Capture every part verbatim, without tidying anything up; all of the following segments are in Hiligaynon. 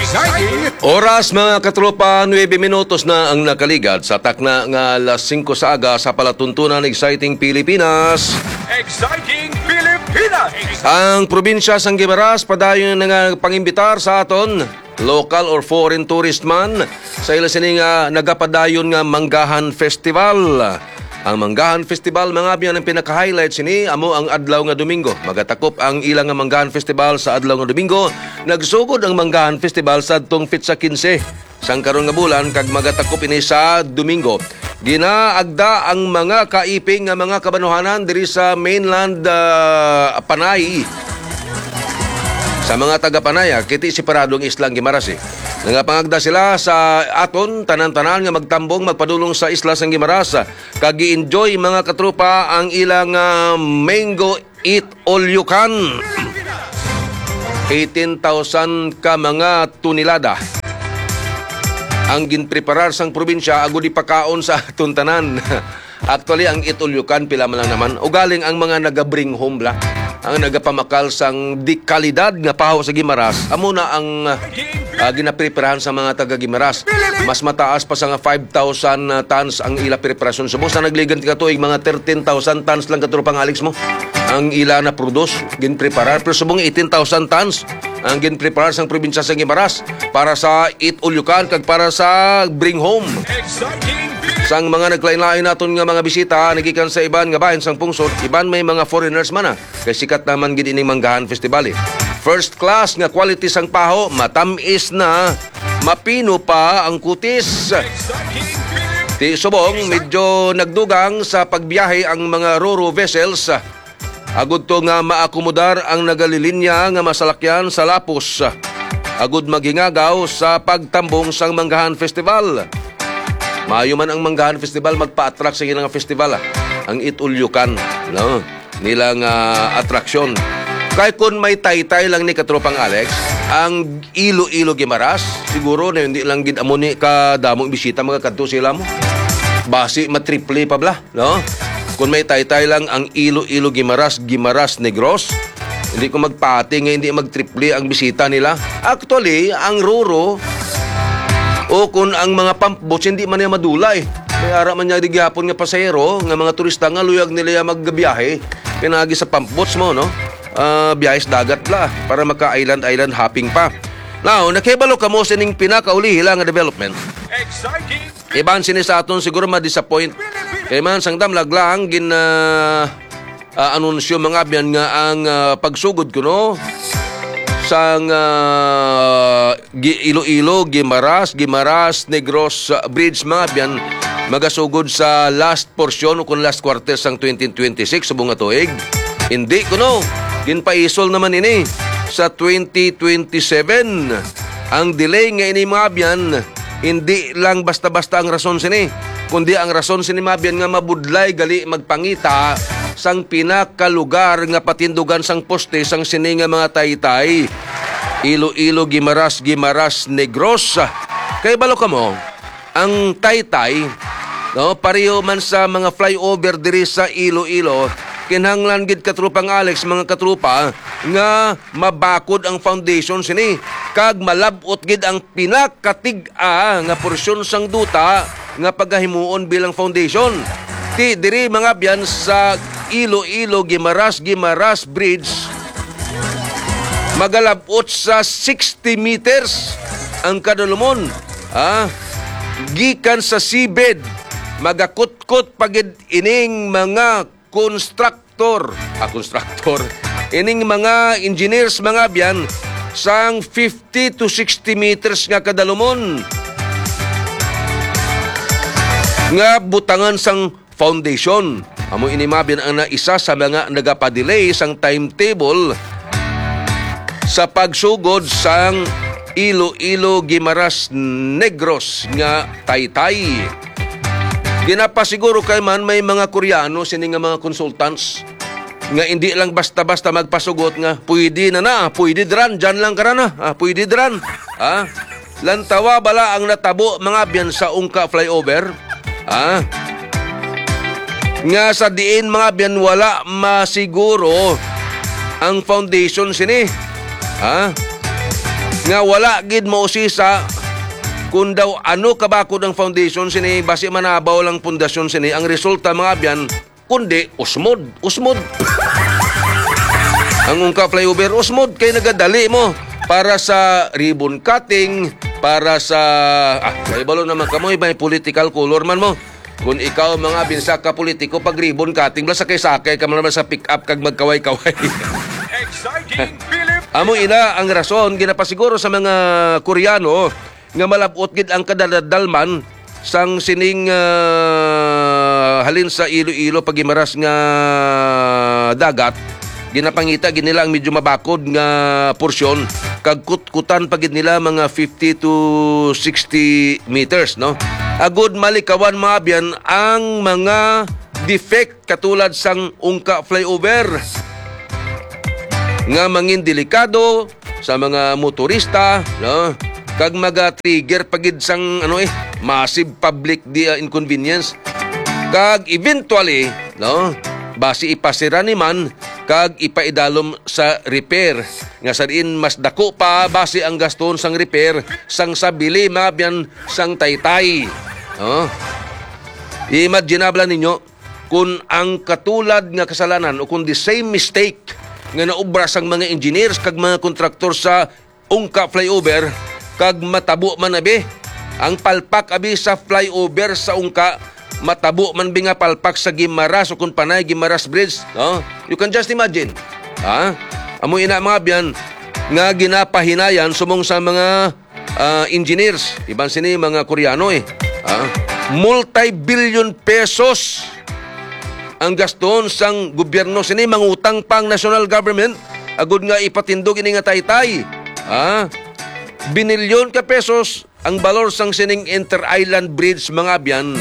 Exciting! Oras, mga katropa, nuebe minutos na ang nakaligad sa takna nga alas singko sa aga sa palatuntunan. Exciting Pilipinas. Exciting Pilipinas! Ang probinsya sang Guimaras padayon na nga pangimbitar sa aton, local or foreign tourist man, sa ila sini nga nagapadayon nga Manggahan Festival. Ang Manggahan Festival, mga abyan, ang pinaka-highlight sini amo ang adlaw nga Domingo. Magatakop ang ila nga Manggahan Festival sa adlaw nga Domingo. Nagsugod ang Manggahan Festival sa adtong petsa kinse sang karon nga bulan kag magatakop ini sa Domingo. Ginaagda ang mga kaiping nga mga kabanuhanan diri sa mainland, ah, Panay. Sa mga taga Panay, ah, kiti separado ang isla ang Guimaras, eh. Nagapangagda sila sa aton tanan-tanan nga magtambong, magpadulong sa isla sang Guimaras, ah, kag gi-enjoy, mga katropa, ang ilang, ah, mango eat all you can. Eighteen thousand ka mga tonelada ang ginpreparar sang probinsya agud ipakaon sa aton tanan. Actually, ang eat all you can, pila man lang naman. Ugaling ang mga naga-bring home bala, ang nagapamakal sang di kalidad nga paho sa Guimaras, amo na ang, ah, ginapreparahan sa mga taga Guimaras. Mas mataas pa sa nga five thousand tons ang ila preparasyon. Subong sa nagligan ka tuig, mga thirteen thousand tons lang, katropang Alex, mo ang ila na produce, ginpreparar. Pero subong eighteen thousand tons ang ginpreparar sang probinsya sa Guimaras para sa eat all you can kag para sa bring home. Sang mga naglain-lain naton nga mga bisita, nagikan sa iban nga bahin sang pungsod, iban may mga foreigners man, ah. Kay sikat naman gid ining Manggahan Festival, eh. First class nga quality sang paho, matamis na, mapino pa ang kutis. Ti subong, medyo nagdugang sa pagbiyahe ang mga ro-ro vessels, agud to nga maakomodar ang nagalilinya nga masalakyan sa lapos, agud maghingagaw sa pagtambong sang Manggahan Festival. Maayo man ang Manggahan Festival magpa-attract sa ilang festival, ah. Ang Eat All You Can, no? Nilang, ah, atraksyon. Kay kun may taytay lang ni, katropang Alex, ang Iloilo Guimaras, siguro na hindi lang gid amo ni kadamong bisita magakadto sila mo. Basi matriple pa bala, no? Kun may taytay lang ang Iloilo Guimaras, Guimaras Negros, hindi ko magpati nga hindi magtriple ang bisita nila. Actually, ang ro-ro o kun ang mga pump boats, hindi man niya madula, eh. May ara man niya di gihapon nga pasahero, nga mga turista nga luyag nila ya magbiyahe, pinagi sa pump boats mo, no? Ah, biyahe sa dagat la, para maka-island-island hopping pa. Now, nakahibalo kamo sining pinakaulihi lang nga development. Exciting! Iban sini sa aton siguro ma-disappoint. Kay man sang damlag lang gin, ah, ah, anunsyo, mga abyan, nga ang, ah, pagsugod kuno sang, ah, Gi-, Iloilo, Guimaras, Guimaras, Negros, ah, Bridge, mga abyan, magasugod sa last porsyon o kung last quarter sang twenty twenty-six subong nga tuig. Hindi kuno, ginpaisol naman ini sa twenty twenty-seven. Ang delay nga ini, mga abyan, hindi lang basta-basta ang rason sini, kundi ang rason sini, mga abyan, nga mabudlay gali magpangita sang pinakalugar nga patindugan sang poste sang sini nga mga taytay. Iloilo, Guimaras, Guimaras, Negros. Kay balo kamo, ang taytay, no, pareho man sa mga flyover diri sa Iloilo, kinahanglan gid, katropang Alex, mga katropa, nga mabakod ang foundation sini kag malab-ot gid ang pinakatig-a nga porsyon sang duta nga pagahimuon bilang foundation. Ti diri, mga abyan, sa Iloilo, Guimaras, Guimaras Bridge, magalab-ot sa sixty meters ang kadalumon, ah, gikan sa seabed. Magakutkot pa gid ining mga konstruktor, ah, konstruktor, ining mga engineers, mga abyan, sang fifty to sixty meters nga kadalumon nga butangan sang foundation. Amo ini, mga abyan, ang na isa sa mga nagapadelay sang timetable sa pagsugod sang Iloilo, Guimaras, Negros nga taytay. Ginapasiguro kay man may mga Koreano sini nga mga consultants nga hindi lang basta-basta magpasugot nga, "Pwede na na, pwede dran, dyan lang ka na na, ah, pwede dran." Ah, lantawa bala ang natabo, mga abyan, sa Ungka flyover? Ah, nga sa diin, mga abyan, wala masiguro ang foundation sini. Ah, nga wala gid mausisa kung daw ano kabakod ang foundation sini, basi manabaw lang pundasyon sini. Ang resulta, mga abyan, kundi usmod, usmod. Ang Ungka Flyover, usmod kay nagadali mo para sa ribbon cutting, para sa, ah, may balo naman kamoy, may political color man mo. Kung ikaw, mga binsa ka politiko, pag ribbon cutting, bala sakay-sakay ka man naman sa pick-up kag magkaway-kaway. Exciting Philippines! Amo ina ang rason, ginapasiguro sa mga Koreano nga malab-ot gid ang kadadalman sang sining, ah, halin sa Iloilo pagimaras nga dagat. Ginapangita gid nila ang medyo mabakod nga porsyon, kag kutkutan pa gid nila mga fifty to sixty meters, no? Agud malikawan, mga abyan, ang mga defect katulad sang Ungka Flyover nga mangin delikado sa mga motorista, no? Kag maga-trigger pa gid sang, ano, eh, massive public di, ah, inconvenience. Kag eventually, no, basi ipasira ni man kag ipaidalom sa repair, nga sa diin mas dako pa basi ang gaston sang repair sang sa bili, mga abyan, sang Taytay. No? Imaginable ninyo kung ang katulad nga kasalanan o kung the same mistake nga naubra sang mga engineers kag mga kontraktor sa Ungka Flyover, kag matabo man abi ang palpak abi sa flyover sa Ungka, matabo man bi nga palpak sa Guimaras o kung Panay Guimaras Bridge, no? You can just imagine. Ha? Amo ina, mga abyan, nga ginapahinayan sumong sa mga, ah, engineers, iban sini mga Koreano, eh. Ha? Multi-billion pesos ang gaston sang gobyerno sini, mangutang pa ang national government agud nga ipatindog ini nga Taytay. Ha? Binilyon ka pesos ang balor sang sining inter-island bridge, mga abyan,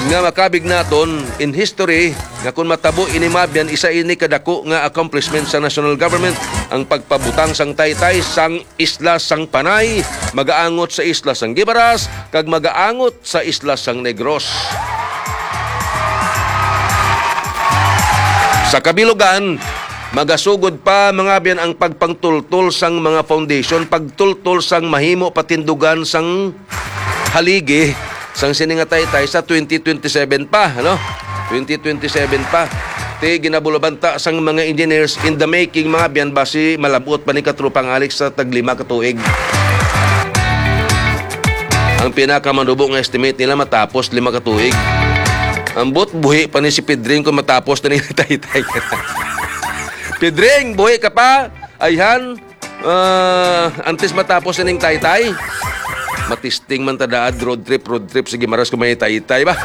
nga makabig naton in history, nga kung matabo ini, mga abyan, isa ini kadako nga accomplishment sa national government, ang pagpabutang sang Taytay sang isla sang Panay, magaangot sa isla sang Guimaras, kag magaangot sa isla sang Negros. Sa kabilugan, magasugod pa, mga abyan, ang pagpangtultol sang mga foundation, pagtultol sang mahimo patindugan sang haligi sang sini nga Taytay sa twenty twenty-seven pa, ano? Twenty twenty-seven pa. Ti ginabulabanta sang mga engineers in the making, mga abyan, basi malabot pa ni Katropang Alex sa taglima ka tuig. Ang pinakamanubo nga estimate nila matapos lima ka tuig. Ambot, buhi pa ni si Pedring kung matapos na ni Taytay. Pedring, buhi ka pa? Ayhan, ah, antes matapos na ning Taytay, matisting man ta daad, road trip, road trip, sige, maras ko may Taytay ba?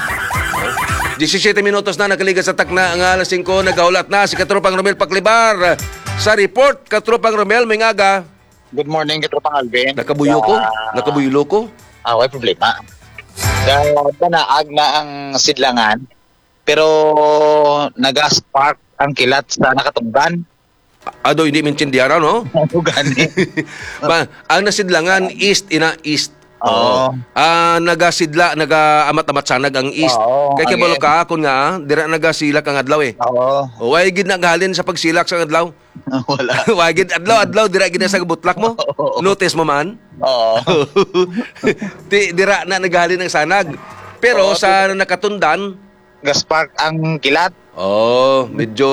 Diyesisiyete minutos na nakaligas sa takna nga alas singko, nagahulat na si Katropang Romel Paklibar sa report. Katropang Romel, may ngaga. Good morning, Katropang Alvin. Nakabuyo ko? Sa Nakabuyo ko? Ah, way problema. Sa Banaag na ang sidlangan, pero naga-spark ang kilat sa nakatungdan. Ado, hindi maintindihan, no? Ano gani? Ba, ang nasidlangan, east, ina, east. Oo. Oo. Ah, nagasidla, nagaamat-amat sanag ang east. Oo, Kay ang kabalo east. ka, akon nga, ah, dira nagasilak ang adlaw, eh. Oo. O, way gid naghalin sa pagsilak sa adlaw. Wala. Way gid adlaw, adlaw, dira gid sa butlak mo. Oo. Notice mo man? Oo. Ti, dira na naghalin ang sanag. Pero Oo, sa ti- nakatundan, Ga-spark ang kilat. Oh, medyo,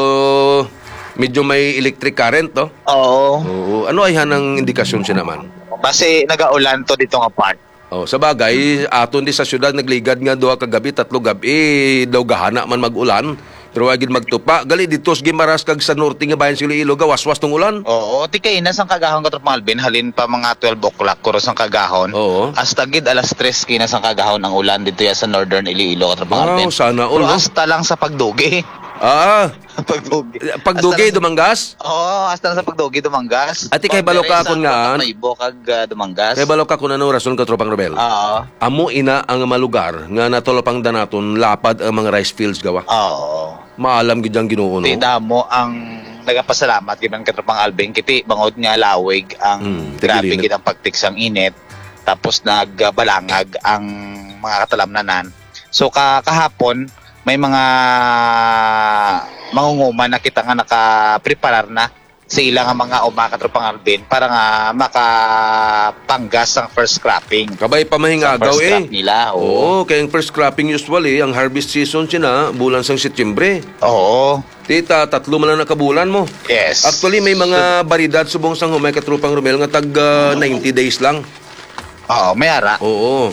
medyo may electric current, no? Oo. Oo. Ano ay hanang indikasyon siya naman? Base nagaulan to dito nga part. Oh, sa bagay, aton di sa syudad nagligad nga duha ka gabi, tatlo gabi daw gahana man mag-ulan. Pero wa gid magtupa. Gali dito sa Guimaras kag sa norte nga bayan sa Iloilo, gawaswas tong ulan. Oo, ti kay ina sang kagahon, Katropang Alvin, halin pa mga twelve o'clock, kuro sang kagahon. Oo. Hasta gid alas tres kina sang kagahon ang ulan dito ya sa Northern Iloilo, Katropang Wow, Alvin. sana all, Pero no? hasta lang sa Pagdugi. Ah, Pagdugi. Pagdugi, Hasta lang sa Dumangas? Oo, hasta lang sa Pagdugi, Dumangas. Ati kay balo ka Pagdiri sa akon nga, Naibo kag, ah, Dumangas. Kay balo ka kung anong rason, Katropang Romel? Oo. Amo ina ang mga lugar nga natulapangdan naton lapad ang mga rice fields gawa. Oo. Maalam gid ang Ginoo, no? Ti damo ang nagapasalamat gid man, Katropang Alvin, kiti bangod nga lawig ang Hmm, grabe tigilinit. gid ang pagtik sang init, tapos nagbalangag ang mga katalamnanan. So, ka-, kahapon, may mga mangunguman na kita nga nakapreparar na sa ila nga mga uma, Katropang Alvin, para nga makapanggas ang first cropping. Kabay pa mahing Sa agaw first eh. crop nila, oo. Oo, kay ang first cropping usually, ang harvest season sina bulan sang Setyembre. Oo. Tita, tatlo man lang na kabulan mo. Yes. Actually, may mga baridad subong sang humay, Katropang Romel, nga tag ah, ninety days lang. Oo, may ara. Oo.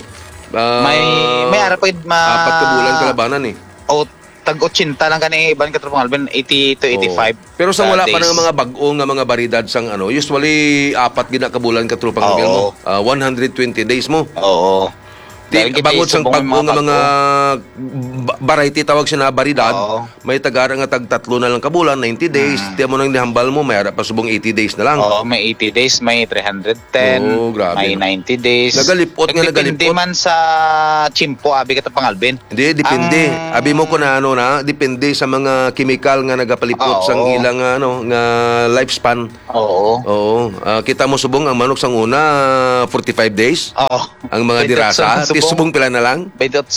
Ah, May may ara pa gid ma- apat ka bulan kalabanan eh. O tag eighty lang kani iban, Katropang Alvin, eighty to Oo. eighty-five Pero sa ka wala pa days. nang mga bag-o nga mga baridad sang ano, usually apat gid na kabulan, Katropang Romel, mo. Oo. Ah, one hundred twenty days mo. Oo. Di, Dahil kita bangod sang isubong pag-o mga nga mga bag-o. ba- variety tawag siya na baridad, Oo. may tagara nga tag tatlo na lang kabulan, ninety days. Mm. Tiyan mo nang nihambal mo, may ara pa subong eighty days na lang. Oo, may eighty days, may three hundred ten, Oo, grabe, may no? ninety days. Nagalipot nga Depende nagalipot. man sa tiyempo, abi, Katropang Alvin. Hindi, depende. Ang Abi mo kung ano na, depende sa mga chemical nga nagapalipot Oo. sang ilang ano, nga lifespan. Oo. Oo. Ah, kita mo subong ang manok sang una, forty-five days. Oo. Ang mga Twenty-eight dirasa, subong. ti subong pila na lang? Twenty-eight.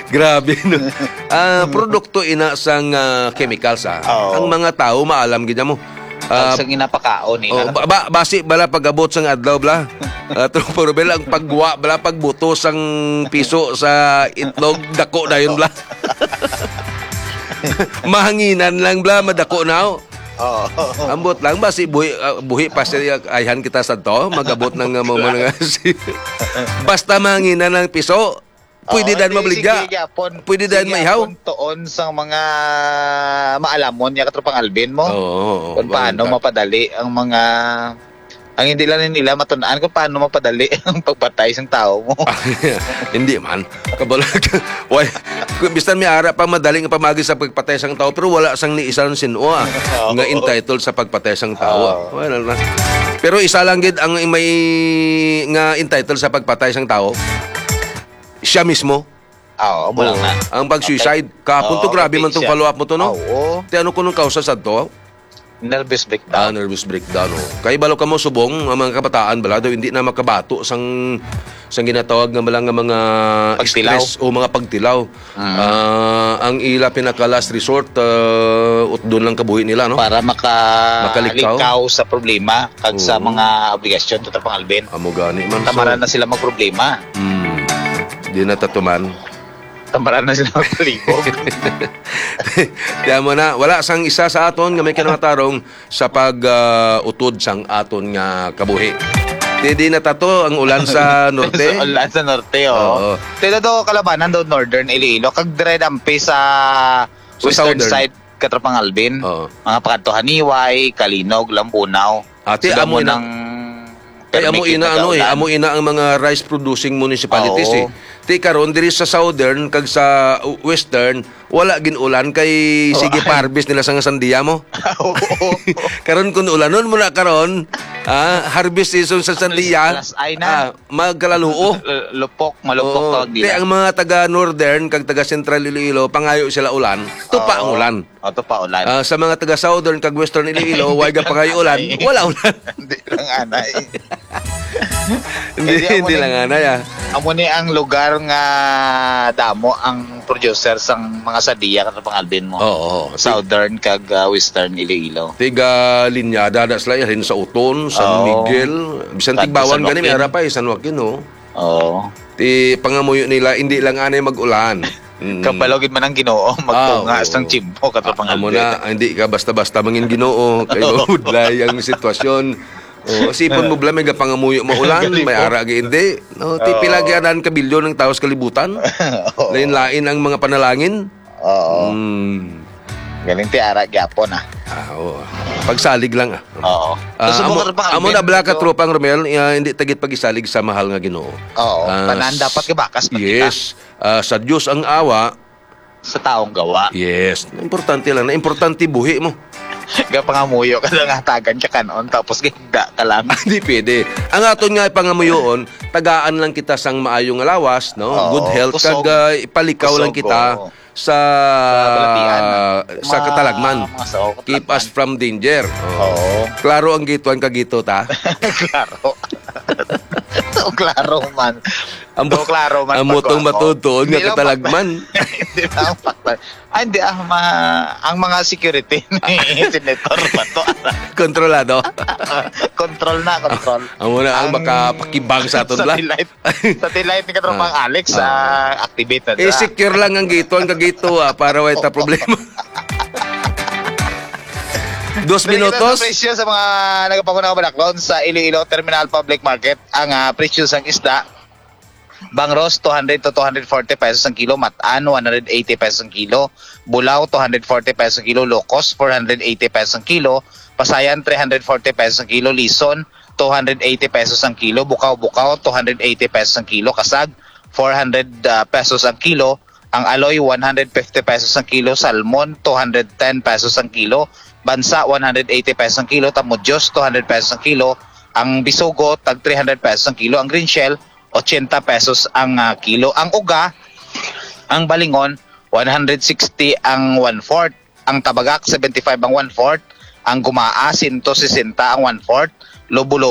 Grabe, no? Ah, produkto ina sang ah, chemicals, ah. Oo. Ang mga tao maalam gid mo. Ah, Ang sa ginapakaon nila. oh, ba, ba, basi bala pag-abot sang adlaw bala. Ah, Tropa Robel, ang pagwa bala, pagbuto sang piso sa itlog, dako dayon bala. Mahanginan lang bala, madako na. Oo. Ambot lang ba si buhi, ah, buhi pa siya, ayhan kita sa to, magabot ng, ah, mga, mga si-, basta mahanginan ng piso, pwede Oo, dan hindi, mabligya. sige gyapon. Pwede dan Sige maihaw. gyapon tuon sa mga maalamon niya, Katropang Alvin mo. Oo, oo, Kung paano bangka. mapadali ang mga, ang hindi lang nila matun-an kung paano mapadali ang pagpatay sang tao mo. Hindi man. Kabalag. Why? Kung bisan may ara pa madali nga pamagi sa pagpatay sang tao, pero wala sang ni isa sin-o, ah, Oo. nga entitled sa pagpatay sang tao, ah. Oo. Wala na. Pero isa lang gid ang may nga entitled sa pagpatay sang tao. Siya mismo. Oo, amo lang Oo. na. Ang pag-suicide. Okay. Kahapon to, Oo, grabe okay man tong siya. follow-up mo to, no? Oo. Ti ano kunong kausa sad to? Nervous breakdown. Ah, nervous breakdown, oh. Kay balo ka mo subong, ang mga kabataan bala daw hindi na makabato sang, sang ginatawag nga bala nga mga Pagtilaw. stress o mga pagtilaw. Mm. Ah, ang ila pinaka last resort, ah, utdon lang kabuhi nila, no? Para maka-, Makalikaw. likaw sa problema kag sa Oo. mga obligasyon, Katropang Alvin. Amo gani man, Tamaran so na sila magproblema. Mm. Di na tatuman. Tamaran na sila magpalibog. Kaya mo na, wala sang isa sa aton nga may kinamatarong sa pag, ah, utod sang aton nga kabuhi. Di, di na tato ang ulan sa norte. Sa ulan sa norte, oh. Oo. Tila daw kalabanan daw northern Iloilo. Kag dire dampi sa Sa western southern. side, Katropang Alvin. Oo. Mga pakadto Haniway, Calinog, Lambunao. Ate, Sila amo mo ina-, nang Kay amo permi ina, kita ano, eh, kaulan. amo ina ang mga rice producing municipalities, Oo. eh. Ti karon diri sa southern kag sa western, wala gin-ulan kay Oo, sige ay. pa-harvest nila sa nga sandiya mo. Oo. Karon kun ulanon mo na karon, ah, harvest season sa sandiya, Alas ay na. ah, magkalaluo. L-, lupok, malupok Oo. tawag Ti nila. ang mga taga northern kag taga central Iloilo, pangayo sila ulan, tupa ang Oo. ulan. Ato pa ulan. Ah, sa mga taga Southern kag Western Iloilo, way ga pangay ulan, Ay. wala ulan. Hindi lang anay. Hindi, Kaya amo hindi ni, lang anay, ah. amo ni ang lugar nga damo ang producer sang mga sadiya, Katropang Alvin mo. Oo, oo. Southern kag, ah, Western Iloilo. Tiga linya, dada sila, halin sa Uton, San Oo. Miguel, bisan Kadto Tigbawan San gani, may Joaquin. ara pa, eh, San Joaquin, oh. Oo. Ti pangamuyo nila, hindi lang anay mag-ulan. Mm. Kabalo gid man ang Ginoo, magtunga Ah, oo. sang tiyempo, Katropang Amo Alvin. na, hindi ka basta-basta mangin Ginoo, kay Oo. mabudlay ang sitwasyon. Oh, sipon mo bala, may gapangamuyo maulan, Galing may po. ara gi hindi. No, ti Oo. pila gi anan ka bilyon ang tawo sa kalibutan. Oo. Lain-lain ang mga panalangin. Oo. Mm. Galing ti ara gyapon, ah. Ah, oo. Pagsalig lang, ah. Oo. Ah, So, subong amo, ka rin pa, amo na Alvin, bala ka, medyo Tropang Romel, ah, hindi tagit pag-isalig sa mahal nga Ginoo. Oo. Ah, Tanan s-, dapat kabakas pa kita. yes. Ah, sa Diyos ang awa. Sa taong gawa. Yes. Importante lang. Na importante buhi mo. Gapangamuyo ka lang, hatagan ka kanon, tapos gihigda ka lang. Hindi pwede. Ang aton nga pangamuyoon, tagaan lang kita sang maayo nga lawas, no? Oo, Good health, kusog. kag, ah, ipalikaw lang Kusog, kita oo. sa, Sa balatian. sa Ma-, katalagman. mga sa Keep us katalagman. from danger. Oo. Oo. Klaro ang gituan kag gito, ta? Klaro. Ang klaro man. Ang Do klaro man ang pag motong kuwan mo. matutuon nga Hindi lang katalagman. Hindi lang paktan. Ay, hindi. Ah, ma, ang mga security ni Senator Bato. Kontrolado. Control na, control. Amo na ang makapakibang sa aton, bla. Satellite. Satellite ni Katropang Ah. Alex, Ah. ah, activate na dira. I-secure lang ang gito, ang kagito, ah, para way ta problema. Dos Dali kita minutos. Sa presyo sa mga nagapangunahan balaklon sa Iloilo Terminal Public Market, ang ah, presyo sang isda, bangros, two hundred to two hundred forty pesos ang kilo, matan, one hundred eighty pesos ang kilo, bulaw, two hundred forty pesos ang kilo, lokos, four hundred eighty pesos ang kilo, pasayan, three hundred forty pesos ang kilo, lison, two hundred eighty pesos ang kilo, bukaw-bukaw, two hundred eighty pesos ang kilo, kasag, four hundred ah, pesos ang kilo, ang aloy, one hundred fifty pesos ang kilo, salmon, two hundred ten pesos ang kilo, bansa, one hundred eighty pesos ang kilo, tamudyos, two hundred pesos ang kilo, ang bisugo, tag three hundred pesos ang kilo, ang green shell, eighty pesos ang ah, kilo, ang uga, ang balingon, one hundred sixty ang one-fourth, ang tabagak, seventy-five ang one-fourth, ang gumaa, sento sesenta ang one-fourth, lobo-lobo,